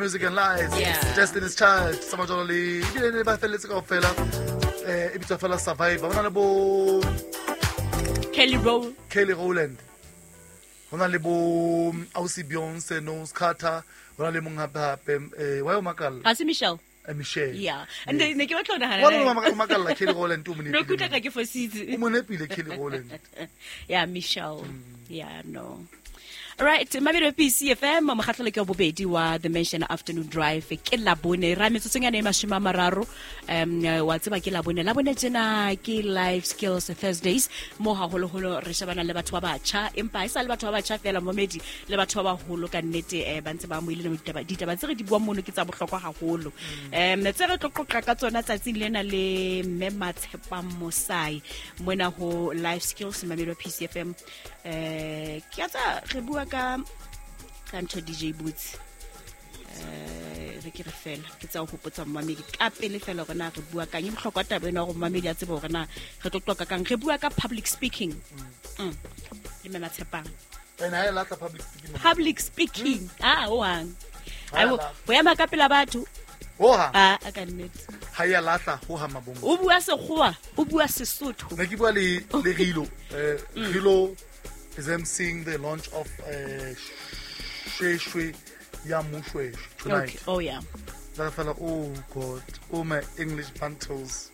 Music and Lies. Destiny's Child, tsamaya jalo le ebile ne ba felletse kaofela. E bitswa fela Survivor. Ho na le bo Kelly Roll. Kelly Rowland. Ho na le bo Ausi Beyonce, Knowles Carter. Ho na le mong hape hape wa yo makalla. Ha se Michelle. Michelle. Yeah. And ne ke batla ho nahana. Wa no makalla Kelly Rowland o mo nepile. No kutlwa ka ke fositse. O mo nepile Kelly Rowland. Yeah, Michelle. Yeah, no. All right, Mabelo PCFM mokgatlhelo ke wa bobedi wa The Mansion Afternoon Drive ke Labone ra metsotsong yana e 30 wa tseba ke Labone Labone tjena ke Life Skills Thursdays mo haholoholo re shebana le batho ba batjha empa e sa le batho ba batjha fela momedi le batho ba baholo ka nnete ba ntse ba amohile ditaba tse re di buang mono ke tsa bohlokwa haholo. Tse re tlo qoqa ka tsona tsatsing lena le mme Matshepang Mosai mona ho Life Skills Mabelo PCFM. Ke tsa re bua ka ntho DJ Boots re ke re fela ke tsa ho hopotsa mmamedi ka pele fela hore na re bua kang e bohlokwa taba ena hore mmamedi a tsebe hore na re tlo qoqa kang. Re bua ka public speaking le mme Matshepang. And ha e latla public speaking. Public speaking. Ah, o hang. Ai bo ema ka pela batho. Ho hang. Ah, a ka nnete. Ha ya latla ho ha mabongo. O bua Sekgowa, o bua Sesotho. Ne ke bua le Rilo. Rilo is emceeing the launch of Shweshwe ya Moshweshwe tonight. Okay. Oh yeah. That fella, oh God, oh my English bantles.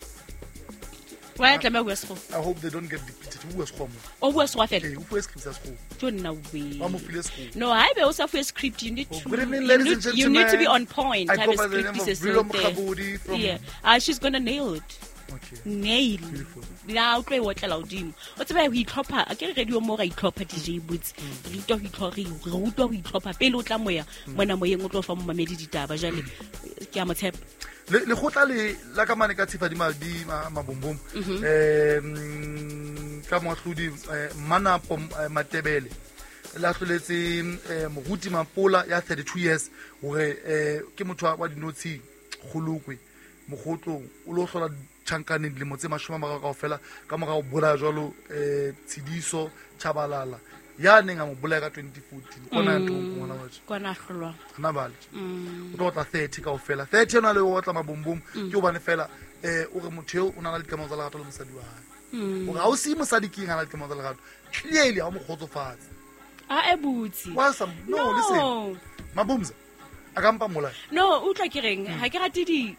Why tla bua Sekgowa? I hope they don't get depleted. Who was Sekgowa? O bua Sekgowa fela. Hey, who was script Sekgowa? Don't know we. Ba mo file Sekgowa. No, I be also for script. You need to. Good evening, ladies and gentlemen. You need to be on point. I go by the name of Rilo Mokgabodi from. Yeah, she's gonna nail it. Okay. Nail. Beautiful. La o tlo e otlela hodimo. O tseba ho itlhopha, a ke re radio mo ra itlhopha DJ Boots. Re utlwa ho itlhopha, re utlwa ho itlhopha pele o tla moya, mona moyeng o tlo fa momamedi ditaba jwale ke a mo tshepa. Le kgotla le la ka mane ka tshifa di mabombom. Ka moahlodi Manapo Matebele la hloletse Moruti Mapola ya 32 years hore ke motho wa dinotshi kgolokwe mogotlong o lo hlola tjhankaneng dilemo tse 30 kaofela ka mora ho bolaya jwalo Tshidiso Tshabalala ya neng a mo bolaya ka 2014 kona ya ntong ngwana wa kona hlolwa hana bale o tlo tla 30 kaofela 30 ena le o tla mabombom ke hobane fela o re motho eo o na le dikamano tsa lerato le mosadi wa hae hore ha o se mosadi ke eng ha na le dikamano tsa lerato clearly ha o mo kgotsofatse a e butse no listen Mabumza a ka mpa molai no utlwa ke reng ha ke rate di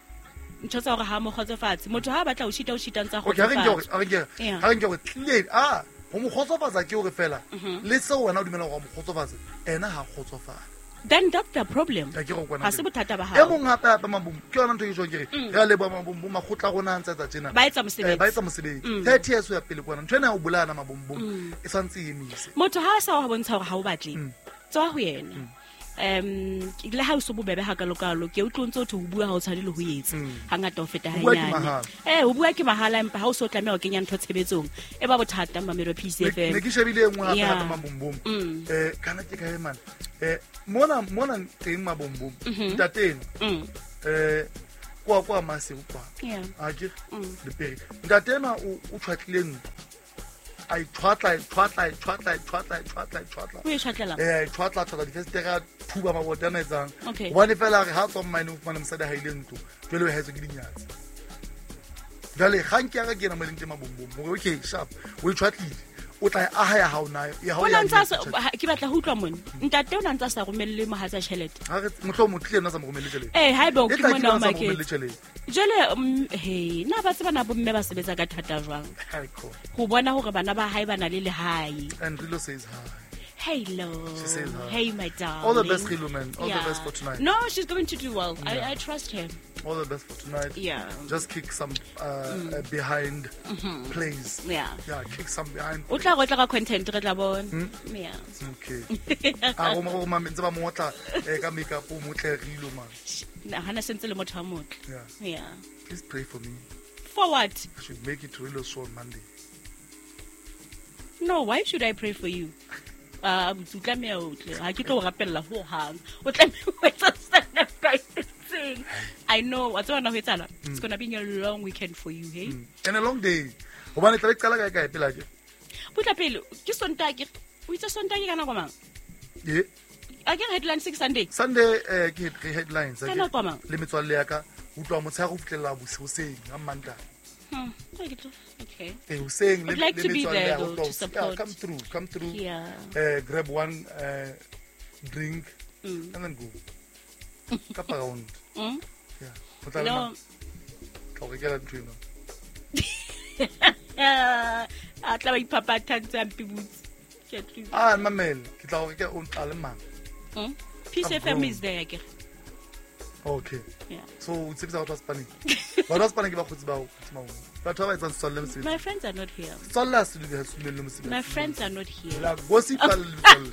ntho tsa hore ha mo kgotsofatse motho ha batla ho shita o shita ntsa kgotsofatse okay ha re nke hore clearly a ho mo kgotsofatsa ke hore fela le seo wena o dumela hore mo kgotsofatse ena ha kgotsofala then that's the problem ha se bothata ba hao e mong hape hape Mabumbo ke yona ntho ke jwang ke re re a leboha Mabumbo makgotla a rona a ntse a tsa tjena ba etsa mosebetsi ba etsa mosebetsi 30 years ho ya pele kwana ntho ena ya ho bolayana Mabumbo e santse e emise motho ha a sa wa bontsha hore ha o batle tswa ho yena le ha o so bobebe ha kalokalo ke utlwe ntse o ho bua ha o tshwane le ho etsa hangata ho feta hanyane ho bua ke mahala empa ha o so tlameha ho kenya ntho tshebetsong e ba bothata Mamelo PCFM ne ke shebile e nngwe hape hape Mabombom kana ke kae man mona teng Mabombom ntateng kwa Maseru kwa a ke le pere ntatena o tshwatlile ntlo a itshwatla o e tshwatlela tshwatla difestere a thuba mabota a etsang hobane fela re ha tswa mine o fumane mosadi ha ile ntlo jwale o haetswe ke dinyatsi jwale kgang ke ya ka ke ena mo leng teng Mabombom hore okay sharp o e tshwatlile o tla e aha ya hao na ya hao ya ke batla ho utlwa mona ntate o na ntsa sa romelle mohatsa tjhelete ha re mohlomong tlile nna sa mo romelle tjhelete haeba o ke mona o maketse jwale he na ba tseba na bomme ba sebetsa ka thata jwang ho bona hore bana ba hae ba na le lehae and Rilo says hi. Hello. She says hi. Hey, my darling. All the best, Rilo, man. All the best for tonight. No, she's going to do well. Yeah. I trust her. All the best for tonight. Yeah. Just kick some behind plays. Yeah. Yeah, kick some behind. O tla go tla ka content re tla bona. Yeah. Okay. A go mo go ntse ba mo otla ka makeup o motle Rilo, man. Na hana sentse le motho wa motle. Yeah. Yeah. Please pray for me. For what? I should make it to Rilo's show on Monday. No, why should I pray for you? O tlameha o tle ha ke tlo o rapella ho hang o tlameha ho etsa se I know wa tseba na ho etsala it's going to be a long weekend for you hey and a long day hobane tla be qala kae kae pela ke butla pele ke Sontaha ke o itse Sontaha ke ka nako mang ye A ke headline 6 Sunday. Sunday ke headlines. Ka nako mang? Le metswalle ya ka utlwa motshehare ho fihlela hoseng ha Mantaha. Okay. Hoseng le I'd like to be metswalle there, ya though, utlwa to support. Yeah, come through. Yeah. Grab one drink and then go. Kapa round. Yeah. O tla le No. mang? Tla o rekela ntho eno. A tla ba iphaphatha ntse a mpibutse. Ke a tluba. Ah, mamele, ke tla o rekela o tla le mang? Peace I'm FM grown. is there, akere. Okay. Yeah. So o tshepisa batho ba Spaneng. Batho ba Spaneng ke bakgotsi ba hao, kgotsi Mahola. Batho ba ba etsang setswalle mosebetsi. My friends are not here. Setswalle ha se dumele, ha se dumelle mosebetsi. My friends are not here. La gossipa le metswalle.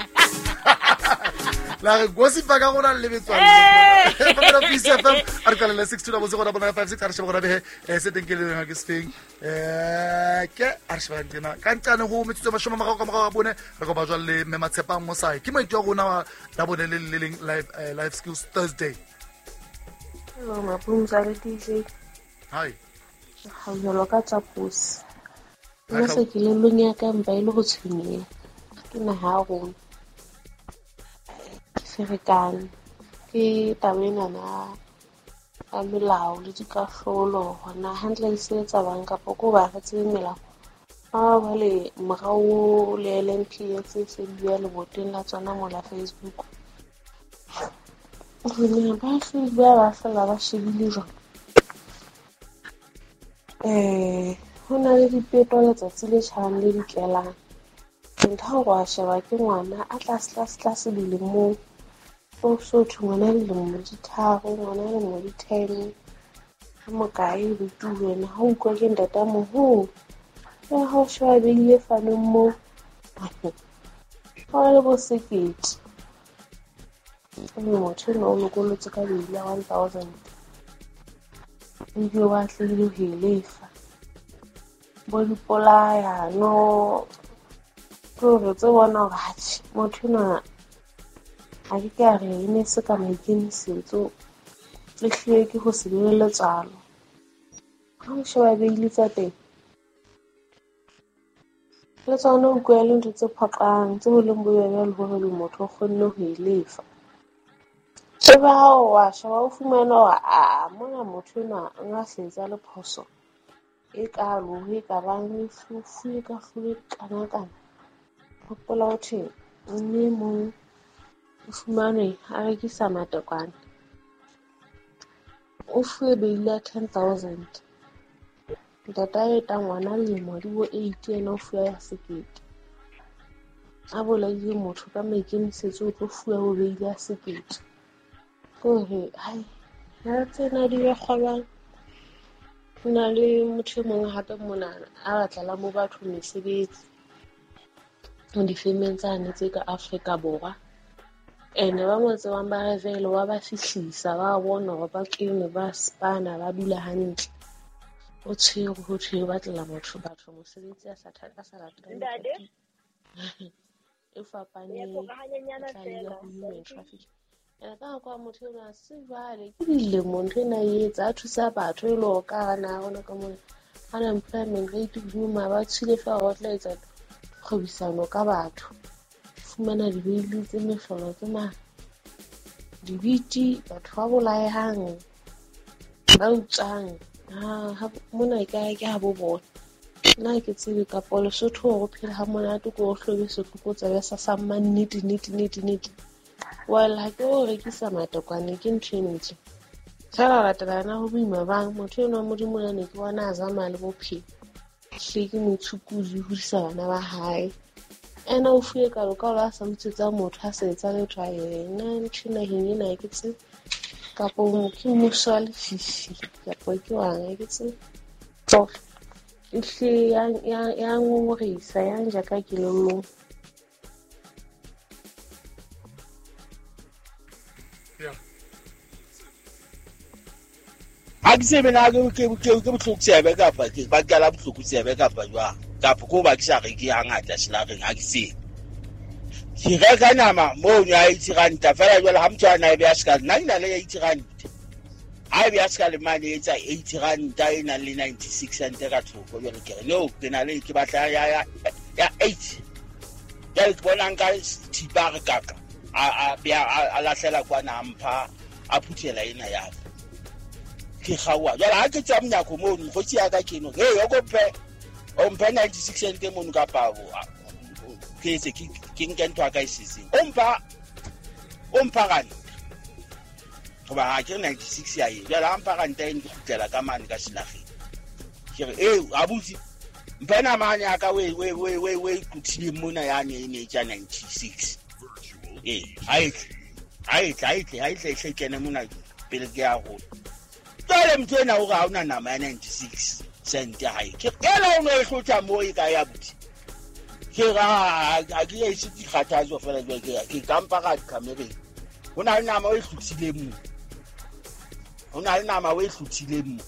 La re gossipa ka rona le metswalle. Hey! Mamela Peace FM, a re qalele 6 2 0 0 9 5 6, a re shebe gona behe, se teng ke le leng ha ke se feng. Ke a re shebe nqena. Ka nqane ho metsotso e 30 ka morao ga bone, re kopa jwale le Mme Matshepang Mosai. Ke maitho a rona wa Labone le le leng live skills Thursday. Hello, Mapumza le DJ. Hi. Hauhelo ka tsa pusi. Hi, Nna se kelellong ya ka mpa e le ho tshwenyeha. Ke naha ya rona. Ke ferekane. Ke taba enana ya melao le dikahlolo hore na hantle e sebetsa bang kapa ko ba re tsebe melao. Ha jwale morao le LNPA tse se di bua leboteng la tsona mola Facebook. Hore na ba hlile ba ba fela ba shebile jwang. Ho na le dipeto letsatsi le tjhabang le dikelang. Ntho ya hore wa sheba ke ngwana a tlase tlase tlase dilemong. O so thwe ngwana dilemo di 3, ngwana dilemo di 10. Ha mokae buti wena ha o utlwa ke ntata moholo. Ya ha o sheba beile fanong moo. Ho le bo sekete. Mme motho enwa o lokollotse ka beile ya 1000. Ebile wa atlehile ho e lefa. Bo dipolayano. Ke hore tse bona hore atjhe motho enwa ha ke ke a re e ne se ka maikemisetso, e hlile ke ho se be le letswalo. Ha o sheba beile tsa teng, le tsona o utlwa e le ntho tse phoqang, tse ho leng bobebe le hore motho o kgonne ho e lefa. Ebe ha o wa sheba o fumana hore aa mona motho enwa o nga se etsa le phoso e kalo ho e ka bang e fuwe kahlolo e kana-kana. Hopola ho thwe mme e mong o fumanwe a rekisa matekwane. O fuwe beile ya 10,000. Ntata a eta ngwana lemo di bo 8 yena o fuwe ya 1,000. A bolaile motho ka maikemisetso o tlo fuwa bo beile ya 1,000. Ke hore hai ha tsena di be kgolwang. Ho na le motho e mong hape mona a batlela mo batho mesebetsi difemeng tsane tse ka Afrika Borwa. Ene ba mo tsebang ba re vele wa ba fihlisa, ba bona hore ba kene, ba spana, ba dula hantle. O tshwere ho thwe o batlela batho mosebetsi a sa latelang Ntate? e fapaneng, Ya tloga hanyenyana e tla le fela. ho human trafficking. Ene ka nako ya motho enwa se jwale ke dilemo ntho ena e etsa, a thusa batho e le hore ka hara naha ya rona ka mona unemployment rate hodimo mara ba tshwile feela hore ba tla etsa kgwebisano ka batho. Fumana dibeili tse mehlolo tse ma dibiti, batho ba bolayang, ba utswang. Ha mona e kae ke ha bo bona. Nna ha ke tsebe kapa Lesotho hore o phele ha monate ko o hlobe setlokotsebe sa mannete nnete nnete nnete. Well, ha ke o rekisa matekwane ke ntho e ntle. Feela latela yena ho boima bang motho enwa Modimo a ne ke bona a zamaya le bophelo. Hle ke motshukudi, o hodisa bana ba hae. Ena o fuwe kalo ka hore a sa utswetsa motho a sa etsa letho a yena ntho naheng ena ha ke tsebe. Kapo ke mmuso wa lefifi kapo ke wang ha ke tsebe. Ehlile ya ngongorehisa, ya nja ka kelellong. Yeah. Ha ke tsebe na ke bohloko tsebe kapa ke ba qala bohloko tsebe kapa jwang. Kapa ko ba ke sa reke hangata selareng ha ke tsebe. Ke reka nama moo ya 80 ranta fela jwale ha motho a na e beha sekale, nna ke na le 80 ranta. Ha e beha sekale mane e etsa 80 ranta e nang le 96 cent ka thoko. Jwale ke re no, ke na le ke batla ya 8. Jwale ke bona nka thipa re kaka. A lahlela kwana a mpha a phuthela ena ya ka. Ke kgaoha. Jwale ha ke tswa monyako mono, mokgotsi ya ka ke eno, "Hey, o kope o mphe 96 cent mono kapa ke etse ke nke ntho ya ka e setseng." O mpha ranta. Hoba ha ke re 96 ya e. Jwale ha mpha ranta eno ke kgutlela ka mane ka selageng. Ke re, "Eh, abuti, mphe namane ya ka we kuthileng mona yane e ne e tja 96." Eh, ha e tle kene mona pele ke ya rona. Jwale motho ena o re ha ona nama ya 96 cent ya hae. Ke ela o no e hlotha moo e kae abuti. Ke re ha ke ese dikgathatso fela jwale ke kampa ka dikamereng. Ho na le nama o e hlothileng mo. Ho na le nama o e hlothileng mo.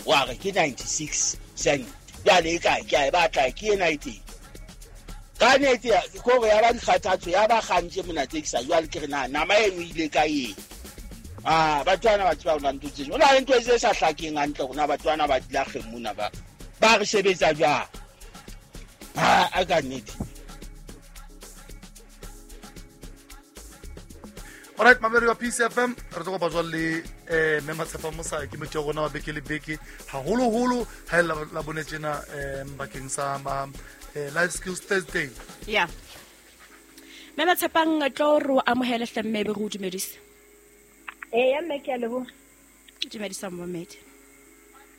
Wa re ke 96 cent. Jwale e kae? Ke a e batla, ke ena e teng. Ka nnete kore ya ba dikgathatso ya ba kgantse mona tse ke sa jwale ke re na nama eno ile ka eng. Ah, batho bana ba tseba hore ntho tse. O na le ntho tse sa hlakeng hantle rona batho bana ba dilageng mona ba re sebetsa jwang. Ha a ka nnete. Alright, mamedi wa PCFM, re tlo kopa jwale le mme Matshepa Mosa ke motho ya rona wa beke le beke haholoholo ha e la bone tjena bakeng sa Life Skills Thursday. Yeah. Mme Matshepang tlo re o amohele hle mme be re o dumedise. Eh, ya mme ke a leboha. Dumedisa momedi.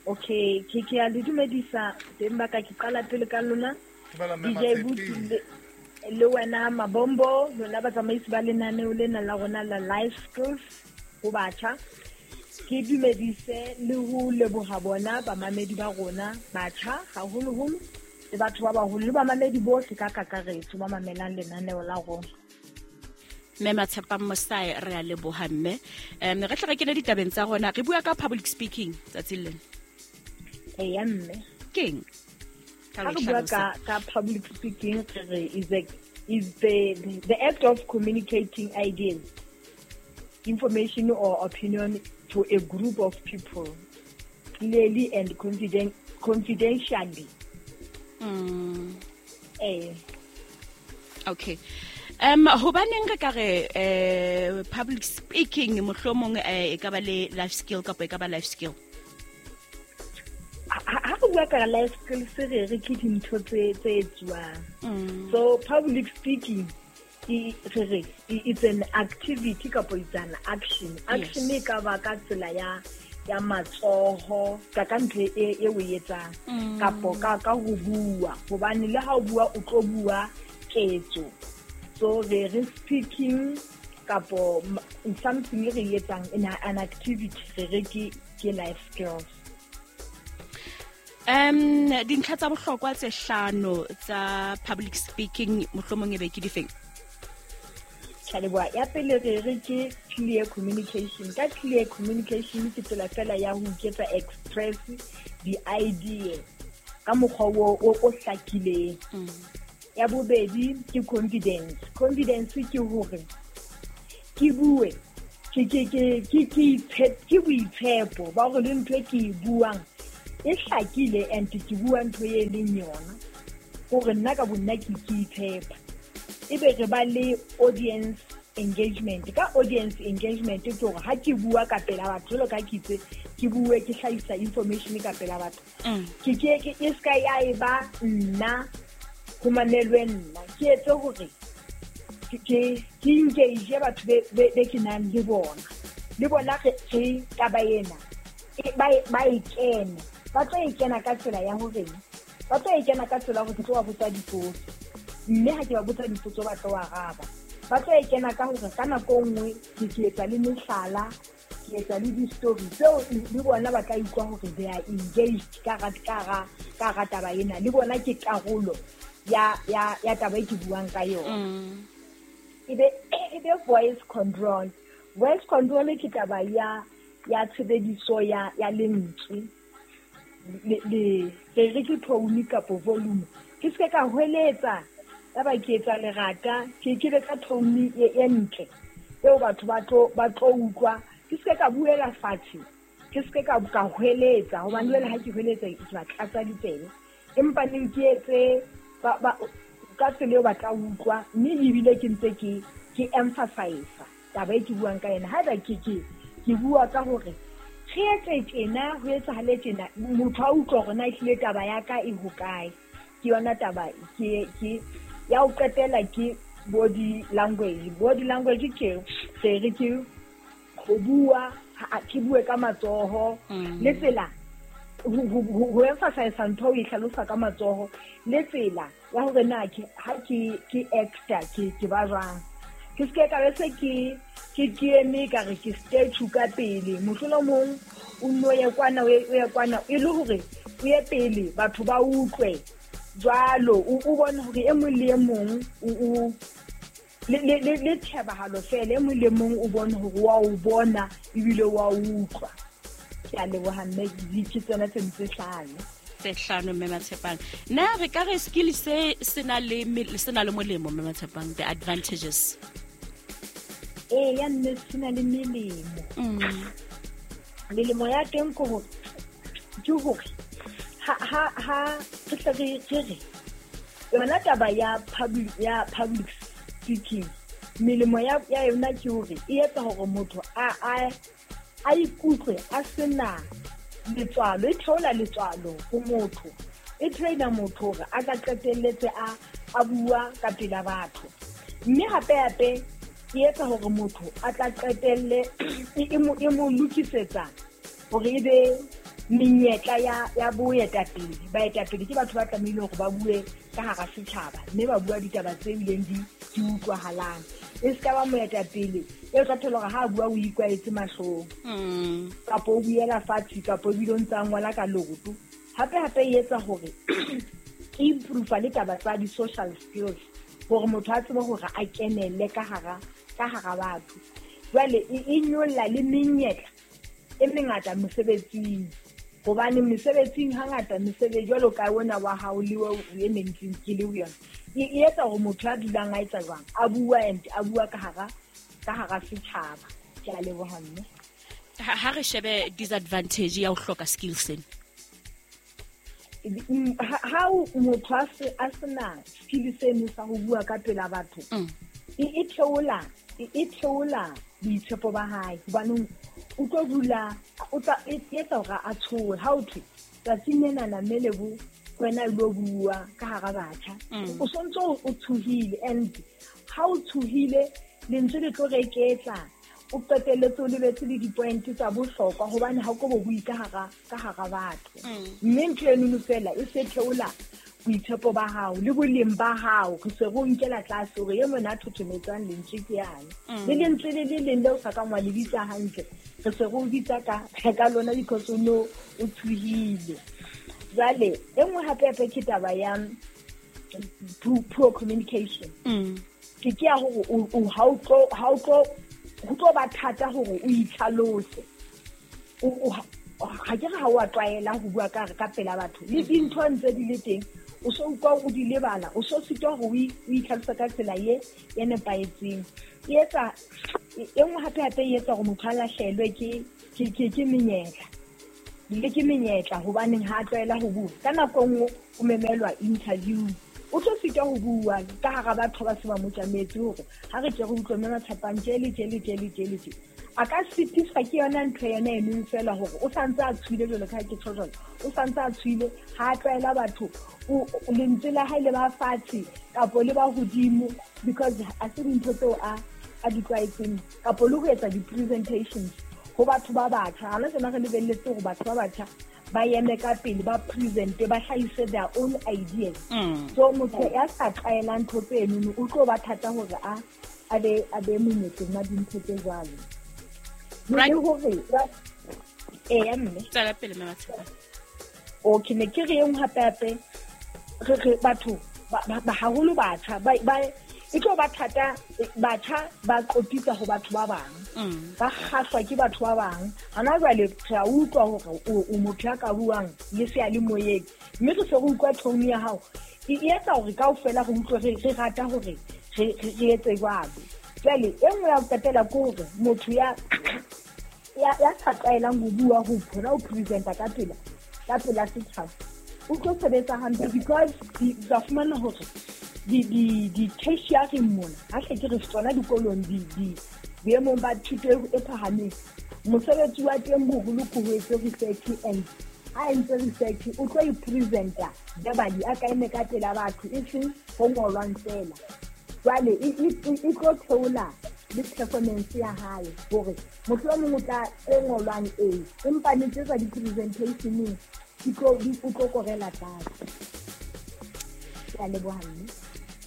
Okay, ke a le dumedisa teng ba ka ke qala pele ka lona. Dumela mme DJ Matshepi. Le wena Mabombo, lona batsamaisi ba lenaneo lena la rona la Life Skills ho batjha. Ke dumedise le ho leboha bona bamamedi ba rona batjha haholoholo le batho ba baholo le bamamedi bohle ka kakaretso ba mamelang lenaneo la rona. Mme Matshepang Mosae re a leboha mme. Re tle re kene ditabeng tsa rona, re bua ka public speaking tsatsing lena. Eya mme. Keng? Ha re bua ka public speaking re re is the act of communicating ideas, information or opinion to a group of people clearly and confidentially. Okay. Hobaneng re ka re public speaking mohlomong e ka ba le life skill kapa e ka ba life skill? Ha re bua ka life skills re re ke dintho tse etsuwang. So public speaking it's an activity kapa it's an action. Action e ka ba ka tsela ya matsoho ka ntho e o etsang kapo ka ho bua, hobane le ha o bua o tlo bua ketso. So re speaking kapo something re etsang in an activity re re ke life skills. Dintlha tsa bohlokwa tse hlano tsa public speaking mohlomong e be ke difeng? Ke a leboha. Ya pele re re ke clear communication. Ka clear communication ke tsela fela ya ho iketsa express di-idea ka mokgwa o hlakileng. Ya bobedi ke confidence. Confidence ke hore ke bue ke boitshepo ba hore le ntho e ke e buang e hlakile and ke bua ntho e leng yona, hore nna ka bonna ke itshepa. Ebe re ba le audience engagement. Ka audience engagement ke hore ha ke bua ka pela batho, jwalo ka ke itse ke bue ke hlahisa information ka pela batho, ke e ska ya e ba nna ho mamelwe nna, ke etse hore ke engage batho be ke nang le bona, le bona re taba ena ba e kene. Ba tlo e kena ka tsela ya hore ba tlo e kena ka tsela hore ke tlo ba botsa dipotso, mme ha ke ba botsa dipotso ba tlo araba. Ba tlo e kena ka hore ka nako nngwe ke etsa le mehlala, ke etsa le di-story tseo le bona ba tla utlwa hore they are engaged ka hara taba ena, le bona ke karolo ya taba e ke buang ka yona. E be voice control. Voice control ke taba ya tshebediso ya lentswe. Le re ke tone kapo volume. Ke se ka hweletsa ya ba ke etsa lerata, ke be ka tone e ntle eo batho ba tlo utlwa. Ke se ka buela fatshe, ke se ka hweletsa, hobane jwale ha ke hweletsa ke ba tlatsa ditsebe. Empa neng ke etse ba Ka tsela eo ba tla utlwa, mme ebile ke ntse ke emphasize taba e ke buang ka yena. Haeba ke bua ka hore re etse tjena, ho etsahale tjena, motho a utlwa hore na ehlile taba ya ka e hokae. Ke yona taba ke ya ho qetela ke body language. Body language ke se re ke ho bua, ke bue ka matsoho le tsela ho emphasize ntho o e hlalosa ka matsoho le tsela ya hore na ha ke actor ke ba jwang. Ke se ka be se ke eme ka re ke statue ka pele, mohlomong o nno ye kwana o ye kwana e le hore o ye pele batho ba utlwe jwalo, o bone hore e mong le e mong o le tshebahalo fela, e mong le mong o bone hore wa o bona ebile wa utlwa. Ke a leboha mme, ke tsona tse ntse hlano. Tse hlano mme Matshepang. Na re ka re skill se sena le molemo mme Matshepang, the advantages? Ee, ya mme se na le melemo. Melemo ya teng ke hore ha re tle re re yona taba ya public speaking, melemo ya yona ke hore e etsa hore motho a ikutlwe a sena letswalo, e theola letswalo ho motho, e traina motho hore a ka qetelletse a bua ka pela batho. Mme hape e etsa hore motho a tla qetelle e mo lokisetsa hore e be menyetla ya boetapele. Baetapele ke batho ba tlamehile hore ba bue ka hara setjhaba, mme ba bua ditaba tse bileng di utlwahalang. E se ka ba moetapele e tla thola hore ha a bua o ikwaetse mahlong, kapa o buela fatshe, kapa ebile o ntse a ngola ka leoto. Hape e etsa hore e improve le taba tsa di-social skills, hore motho a tsebe hore a kenelle ka hara batho. Jwale e nyolla le menyetla e mengata mosebetsing, hobane mesebetsing hangata mesebetsi jwalo ka ona wa hao le e neng ke le ho yona, e etsa hore motho a dulang a etsa jwang, a bua and a bua ka hara setjhaba. Ke a leboha mme. Ha re shebe disadvantage ya ho hloka skills sena. Ha motho a sena skill seno sa ho bua ka pela batho, e theola boitshepo ba hae, hobane o tlo dula o tla etsa hore a tshohe. Ha o thwe tsatsing lenana mme Lebo wena o lo bua ka hara batjha, o sontso o tshohile, and ha o tshohile lentswe le tlo reketla, o qetelletse o lebetse le di-point tsa bohlokwa, hobane ha o ko bo bue ka hara batho. Mme ntho enono fela e se theola boitshepo ba hao le boleng ba hao, re se re o nkela tlase hore e mona a thothometsang lentswe ke yane. Le lentswe le le leng leo sa kang wa le bitsa hantle, re se re o bitsa ka lona because o no o tshohile. Jwale e nngwe hape ke taba ya poor communication. Ke ya hore ha o tlo ba thata hore o itlhalose. Ha ke re ha o a tlwaela ho bua ka pela batho, le dintho ntse di le teng, o so utlwa o di lebala, o so sitwa hore o itlhalose ka tsela ye nepahetseng. E etsa e nngwe hape e etsa hore motho a lahlehelwe ke menyetla. Le ke menyetla hobaneng ha a tlwaela ho bua. Ka nako e nngwe o memelwa interview, o tlo sitwa ho bua ka hara batho ba se ba mo tjametse hore ha re tle re utlwe mme Matshepang tje le tje le tje le tje le tje. A ka sitiswa ke yona ntho yona eno fela hore o santse a tshohile jwalo ka ha ke tjho jwalo, o santse a tshohile, ha a tlwaela batho, lentswe la hae le ba fatshe kapo le ba hodimo, because a se dintho tseo a di tlwaetseng, kapo le ho etsa di-presentations ho batho ba batjha. Hana tsena re lebelletse hore batho ba batjha ba eme ka pele, ba presente, ba hlahise their own ideas. So motho ya sa tlwaelang ntho tseno o tlo ba thata hore a be monyetleng wa dintho tse jwalo. Le hore eya mme tswela pele mme Matshepang. Okay, ne ke re e nngwe hape re batho ba haholo batjha ba e tlo ba thata, batjha ba qopitsa ho batho ba bang, ba kgahlwa ke batho ba bang. Hana jwale re a utlwa hore o motho ya ka buang le seyalemoyeng, mme re se re utlwa tone ya hao e etsa hore kaofela re utlwe re rata hore re etse jwalo. Jwale e nngwe ya ho qetela ke hore motho ya sa tlwaelang ho bua, ho phona ho presenta ka pela setjhaba, o tlo sebetsa hantle, because tla fumana hore Di tertiary mona ha hle ke re tsona dikolong di boemong ba thuto e phahameng, mosebetsi wa teng boholo ke ho etse research, and ha entse research o tlo i-presenta verbally, a ka eme ka pela batho, e seng ho ngolwang fela. Jwale e tlo theola le performance ya hae, hore motho o mong o tla e ngolwang e, empa ne tsa di-presentationeng o tlo korela tlase. Ke a leboha mme.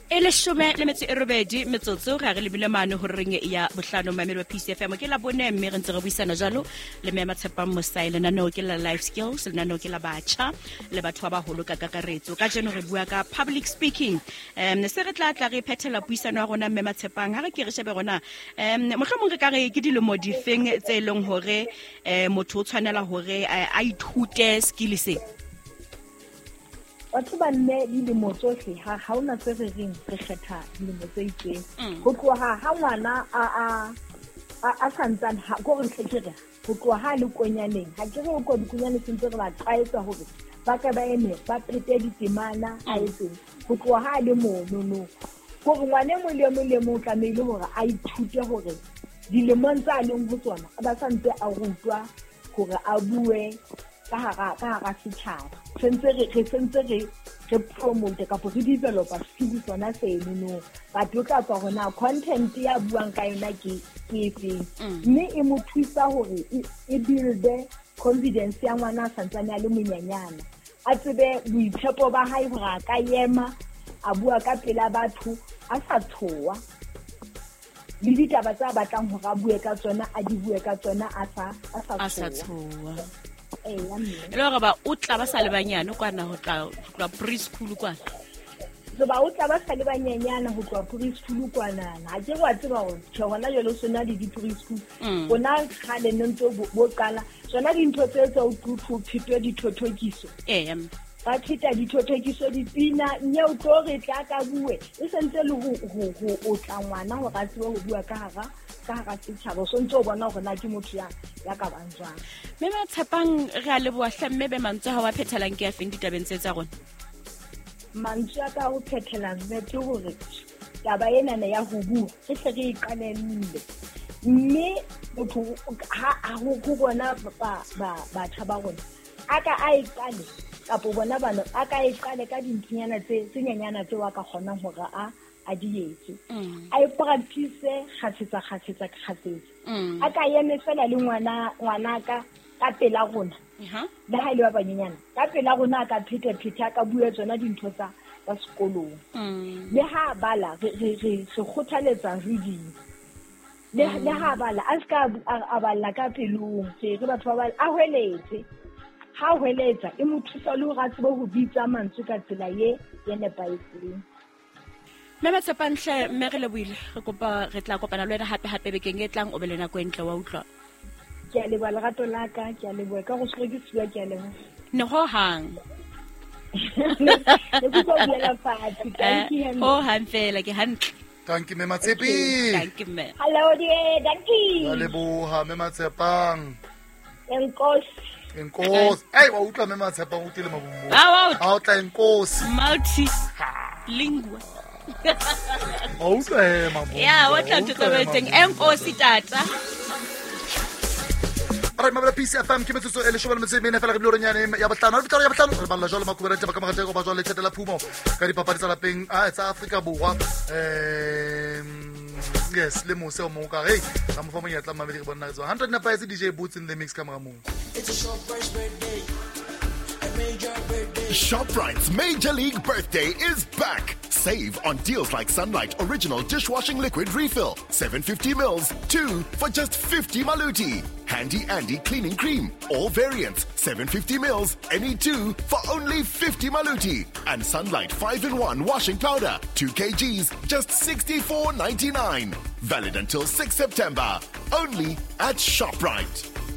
E 18 metsotso ga re lebile mane go reng ya bohlano. Mamedi wa PCFM, ke la bone mme re ntse re buisana jalo le mme Matshepang Mosai. Lenaneo ke la Life Skills, lenaneo ke la batjha le batho ba baholo ka kakaretso. Ka jeno re bua ka public speaking. Se re tla tla re phethela puisano ya rona, mme Matshepang, ha re ke re shebe rona mohlomong re ka re ke dilemo difeng tse e leng hore motho o tshwanela hore a ithute skill se? Batho ba mme, dilemo tsohle ha hona se re reng re kgetha dilemo tse itseng. Ho tloha ha ngwana a santsane, ko re hle ke re ho tloha ha le konyaneng, ha ke re o ko dikonyane sentse re ba tlwaetsa hore ba ka ba eme ba phete ditemana, a etseng ho tloha ha le monono, hore ngwana e mong le mong le mong o tlamehile hore a ithute hore dilemong tsa leng ho tsona ba santse a rutwa hore a bue ka hara setjhaba. Sentse re sentse re promote kapa re developa skill sona seno, but o tla tswa hore na content ya buang ka yona ke efeng, mme e mo thusa hore e builde confidence ya ngwana a santsane a le monyenyana, a tsebe boitshepo ba hae hore a ka ema a bua ka pela batho a sa tshoha, le ditaba tsa batlang hore a bue ka tsona a di bue ka tsona a sa tshoha. E le hore ba o tla ba sa le banyane kwana ho tla preschool kwana. Ba o tla ba sa le banyenyana ho tloha preschool kwana. Ha ke wa tseba hore tjhe hona jwale o sona le di-preschool. Rona kgale ne ntse bo qala tsona dintho tse tsa o phetwe dithothokiso. Ba pheta dithothokiso, dipina, mme o tlo re tla ka bue e sentse le ho o tla ngwana hore a tsebe ho bua ka hara setjhaba. O sontse o bona hore na ke motho ya ka bang jwang. Mme Matshepang, re a leboha hle. Mme be mantswe ha wa phethelang ke a feng ditabeng tse tsa rona? Mantswe a ka ho phethelang mme ke hore taba enana ya ho bua re hle re e qalelle, mme motho ha ho bona batjha ba rona a ka a e qale, kapo bona bana a ka e qale ka dinthonyana tse nyenyana tseo a ka kgonang hore a di etse, a e practice kgafetsa. A ka eme fela le ngwana ka pela rona, le ha ile ba banyenyana ka pela rona, a ka pheta a ka bua tsona dintho tsa sekolong. Le ha bala re kgothaletsa reading, le ha bala a ska a balla ka pelong, re batho ba bala a hweletse. Ha hweletsa e mo thusa le hore a tsebe ho bitsa mantswe ka tsela ye nepahetseng. Mme Matshepang hle, mme re lebohile, re kopa re tla kopana le wena hape bekeng e tlang, o be le nako e ntle, wa utlwa. Ke a leboha lerato la ka, ke a leboha ka go tshwere ke siwa, ke a leboha. Ne ho hang. Ne ke tlo buela fatshe, thank you. Ho hang fela, ke hantle. Thank you, Mme Matshepi. Thank you, mme. Hello dear, thank you. Ka leboha, Mme Matshepang. Enkosi. Enkosi. Ei, wa utlwa Mme Matshepang o tlile mabombo. Ha o tla enkosi. Multi lingua. Wa utlwa he mabombo. Ya, wa tla ntho tsa teng. Enkosi tata. Alright, mabela PCFM ke metsotso e 14 fela re bile nyane ya bohlano. Re ya bohlano re balla jwalo makuberente ba ka magateko ba jwale thetela phumo ka dipapadi tsa lapeng a tsa Afrika Borwa. Yes, le mose o mong ka hey, ka mo fa monyetla mamedi re bona re tswa 100 nepahetse DJ Boots in the mix ka mora moo. It's a Shoprite birthday. A major birthday. Shoprite's Major League Birthday is back. Save on deals like Sunlight Original Dishwashing Liquid Refill, 750 mils, 2 for just 50 maluti. Handy Andy Cleaning Cream, all variants, 750 mils, any 2 for only 50 maluti. And Sunlight 5-in-1 Washing Powder, 2 kgs, just 64.99. Valid until 6 September. Only at Shoprite.